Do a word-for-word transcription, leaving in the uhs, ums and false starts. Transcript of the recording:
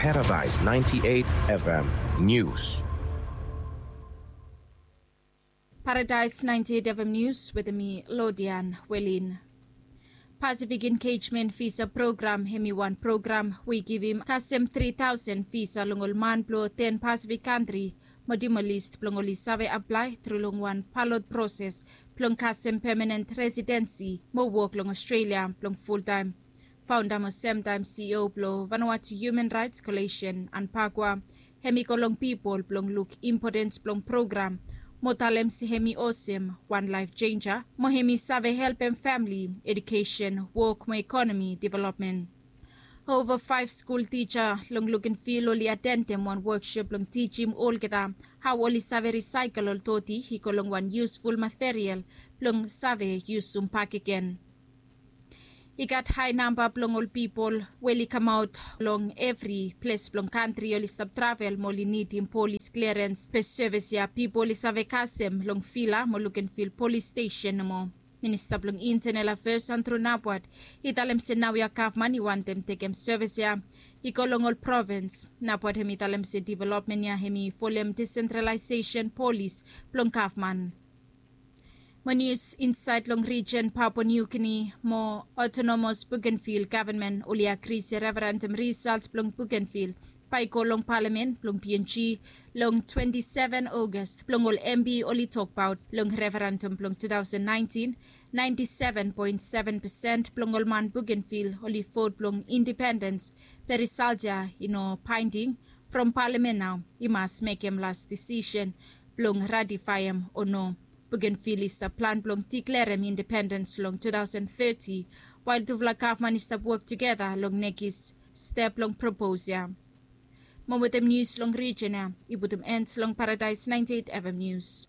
Paradise ninety-eight F M News. Paradise ninety-eight F M News with me, Lodian Welin. Pacific Engagement Visa Program hemi wan program we i givim kasem tri taosen visa long ol man blong ten Pacific kantri. Mo dimo list blong oli save aplae tru long wan balot proses blong kasem pemanent residensi mo wok long Australia blong fultaem. Faonda mo semtaem C E O blong Vanuatu Human Rights Coalition, Anpagwa, hemi go long pipol blong luk impotens blong program mo talem se hemi osem wan laef jenja mo hemi save helpem famle, edukesen, wok mo ekonomi developmen. Ova faef skul tija long Lukenvil oli atendem wan woksop blong tijim olgeta hao oli save risaekel ol doti i go long wan yusful material blong save yusum bakegen. I gat hae namba blong ol pipol we oli kamaot long evri ples blong kantri oli stap travel mo oli nidim polis klerens. Be sevis ya pipol oli save kasem long Vila mo Lukenvil polis stesen nomo. Minista blong Intenel Afeas Andrew Nabaot i talem se naoia gavman i wantem tekem sevis ya i go long ol provins. Nabaot hemi talem se developmen ya hemi folem disentralaesesen polis blong gavman. Mo nius insaed long rijen Papua Niu Gini mo otonomos Bugenvil gavman oli agri se referendam risalt blong Bugenvil bae i go long palamen blong P N G long twenti seven Ogos blong ol M P oli tokbaot long referendam blong tu taosen naentin. Naenti seven poen seven pesen blong ol man Bugenvil oli vot blong indipendens. Be risalt ya i no baending from palamen nao i mas mekem las disisen blong ratifaem o no. Bugenvil i stap plan blong diklerem indipendens long tu taosen teti wael tufala gavman i stap wok tugeta long nekis step long propos ya. Mo wetem nius long rijen ya i putum en long Paradaes naenti eit F M Nius.